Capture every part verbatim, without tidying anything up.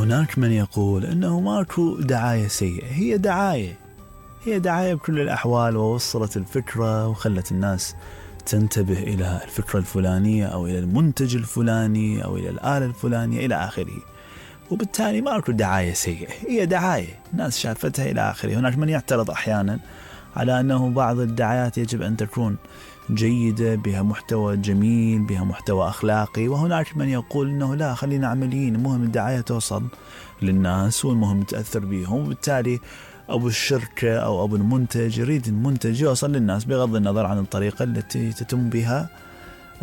هناك من يقول أنه ماكو دعاية سيئة. هي دعاية هي دعاية بكل الأحوال، ووصلت الفكرة وخلت الناس تنتبه إلى الفكرة الفلانية أو إلى المنتج الفلاني أو إلى الآلة الفلانية إلى آخره، وبالتالي ماكو دعاية سيئة، هي دعاية الناس شافتها إلى آخره. هناك من يعترض أحيانا على أنه بعض الدعايات يجب أن تكون جيدة، بها محتوى جميل، بها محتوى أخلاقي، وهناك من يقول أنه لا، خلينا عمليين، المهم الدعاية توصل للناس والمهم تأثر بيهم، وبالتالي أبو الشركة أو أبو المنتج يريد المنتج يوصل للناس بغض النظر عن الطريقة التي تتم بها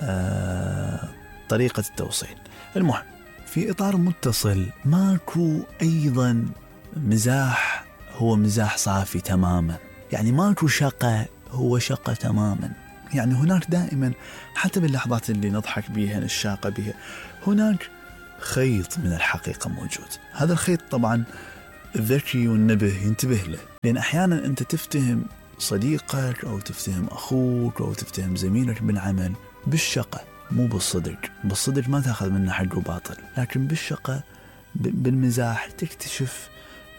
آه طريقة التوصيل. المهم في إطار متصل، ماكو أيضا مزاح هو مزاح صافي تماما، يعني ماكو شقة هو شقة تماما. يعني هناك دائما حتى باللحظات اللي نضحك بيها الشاقة بها هناك خيط من الحقيقة موجود. هذا الخيط طبعا الذكي والنبه ينتبه له، لأن أحيانا أنت تفتهم صديقك أو تفتهم أخوك أو تفتهم زميلك بالعمل بالشقة، مو بالصدق. بالصدق ما تأخذ منه حق وباطل، لكن بالشقة بالمزاح تكتشف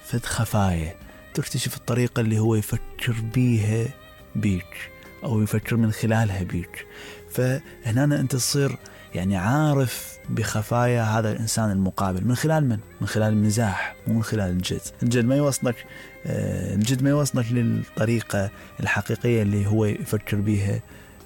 فد خفايا، تكتشف الطريقة اللي هو يفكر بيها بيك أو يفكر من خلالها بيك. فهنا أنت تصير يعني عارف بخفايا هذا الإنسان المقابل من خلال من؟ من خلال المزاح، مو من خلال الجد. الجد ما يوصلك آه الجد ما يوصلك للطريقة الحقيقية اللي هو يفكر بيها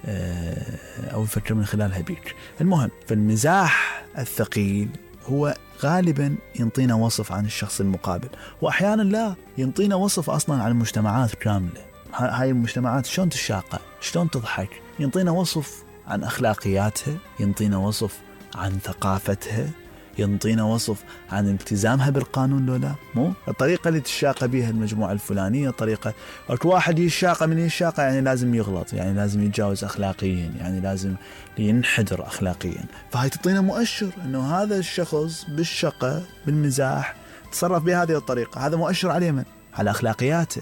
آه أو يفكر من خلالها بيك. المهم فالمزاح الثقيل هو غالبا ينطينا وصف عن الشخص المقابل، وأحيانا لا، ينطينا وصف أصلا عن المجتمعات كاملة. هاي المجتمعات شلون تشاقى، شلون تضحك، ينطينا وصف عن أخلاقياتها، ينطينا وصف عن ثقافتها، ينطينا وصف عن التزامها بالقانون. لولا مو الطريقة اللي تشاقى بها المجموعة الفلانية طريقة، أكو واحد يشاقى من يشاقى يعني لازم يغلط، يعني لازم يتجاوز أخلاقيا، يعني لازم ينحدر أخلاقيا. فهاي تعطينا مؤشر أنه هذا الشخص بالشقة بالمزاح تصرف بهذه الطريقة، هذا مؤشر عليه من؟ على أخلاقياته،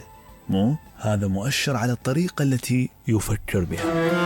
مو هذا مؤشر على الطريقة التي يفكر بها.